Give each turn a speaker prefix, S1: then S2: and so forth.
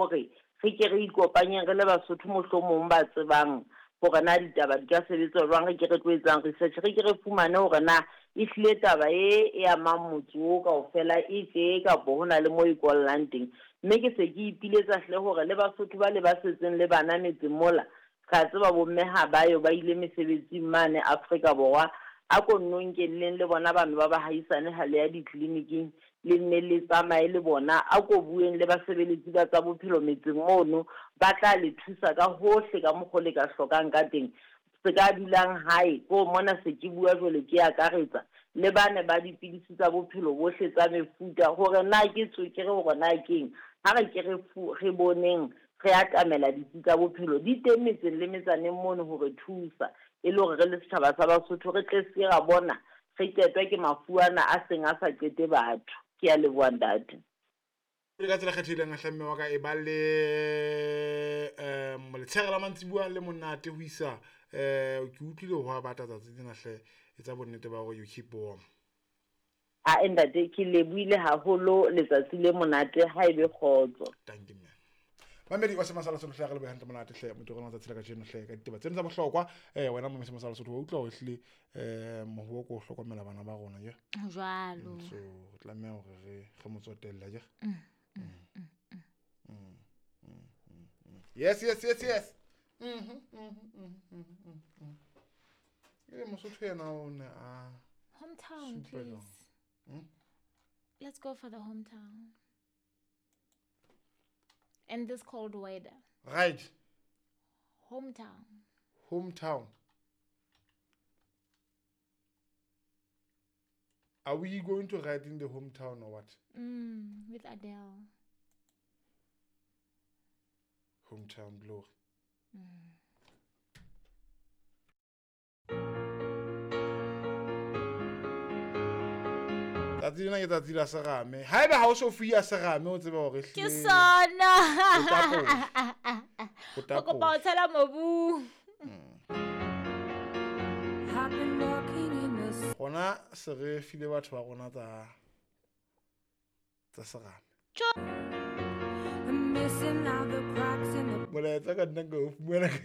S1: Hore re ke re ikopanyeng re le Basotho mohlomong ba tsebang hore na ditaba di ka sebetswa jwang, re ke re tlo etsang research, re ke re fumane hore na ehlile taba e e amang motse oo kaofela e tje kapo ho na le moo e kollang teng. Mme ke se ke ipiletsa hle hore le Basotho bale ba setseng le bana metseng mola, Re a tseba bomme ha ba yo, ba ile mesebetsing mane Afrika Borwa. A ko nno nkelleng le bona bano ba bahaisane ha le ya ditleliniking, le nne le tsamaye le bona. A ko bueng le basebeletsi ba tsa bophelo metseng mono, ba tla le thusa ka hohle ka mokgo le ka hlokang ka teng. Se ka dulang hae, ko mona se ke bua jwale ke akaretsa le bane ba dipidisi tsa bophelo bohle tsa mefuta, hore na ke tswekere hore na keng. Ha re ke re re boneng re atamela ditsi tsa bophelo di teng metseng le metsaneng mono ho re thusa e le hore re le setjhaba sa Basotho re tle se ra bona re qetwa ke mafu ana a seng a sa qete batho. Ke a leboha ntate.
S2: Pele ka tsela kgethehileng hle mme wa ka e ba le um letshehare la mantsibuya le monate ho isa um ke utlwile ho a bata tsatsi lena hle etsa bonnete ba hore you keep warm.
S1: Ae ntate ke lebohile haholo letsatsi le monate ha ebe kgotso.
S2: Thank you man. Mamedi wa Sema sa Lesotho hle re lebohe hantle monate hle motho rona tsatsi la kajeno hle ka ditaba tseno tsa bohlokwa eh wena mo Sema sa Lesotho wa utlwa hore ehlile eh mohuo ko hlokomela bana ba rona je
S3: jwalo
S2: so re tlameha hore re re mo tsotelle je yes yes yes yes mhm mhm mhm mhm mosotho yena o ne a
S3: hometown please hmm? Let's go for the hometown and this cold weather.
S2: Right.
S3: Hometown.
S2: Hometown. Are we going to write in the hometown or what?
S3: With Adele.
S2: Hometown glory. Tsatsi lena ke tsatsi la serame. Haeba ha o so fuya serame o tsebe hore
S3: Ke sona. O kopa o tshela mobung.
S2: Rona se re file batho ba rona tsa tsa serame. Molaetsa ka nna ka o fumana ka.